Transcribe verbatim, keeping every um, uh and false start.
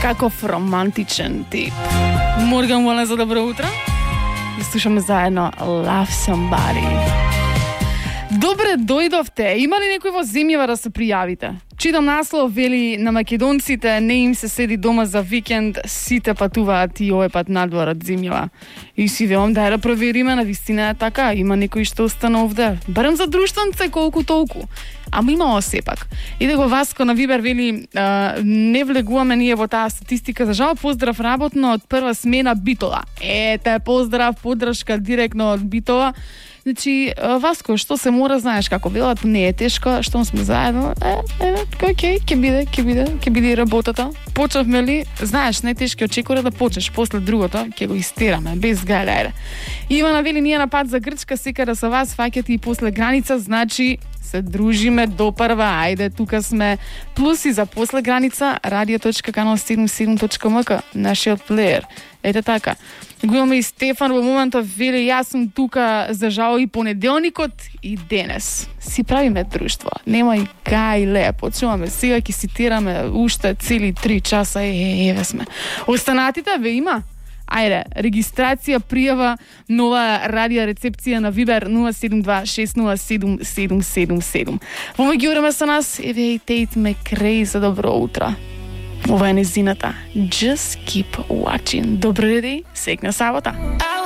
Каков романтичен тип. Морган Уолен за добро утро. И слушаме заедно Love Somebody. Добре дојдовте. Има ли некој во земјава да се пријавите? Читам наслов, вели на македонците не им се седи дома за викенд, сите патуваат и овој пат надвор од земјава. И си велам дај да провериме, на вистина е така, има некој што остана овде. Барем за друштвенце колку толку. Ама имало сепак. Иде го Васко на Вибер, вели а, не влегуваме ние во таа статистика. За жал, поздрав работно од прва смена Битола. Ете, поздрав, поддршка директно од Битола. Значи, Васко, што се мора, знаеш како велат, не е тешко, што сме заедно, е, е, окей, ќе биде, ќе биде, ќе биде и работата. Почнавме ли, знаеш, најтешки очекува да почнеш, после другото ќе го истераме, без гајлејре. Ивана вели, ние на пат за Грчка, секара со вас, фаќате и после граница, значи се дружиме до прва, ајде, тука сме. Плюс и за после граница, радио точка канал седумдесет и седум точка ем ка, нашиот плеер. Ете така. Го имаме и Стефан во моментот, вели, јас сум тука за жал и понеделникот и денес. Си правиме друштво. Нема и гајле. Почуваме сега, ќе цитираме уште цели три часа. Е, еве сме. Останатите ве има? Ајде, регистрација, пријава, нова радио рецепција на Вибер нула седум два шест нула седум седум седум седум. Во меѓувреме со нас, еве и Тейт Мекрей за добро утро. Ова е незината. Just keep watching. Добро деди, секна сабота.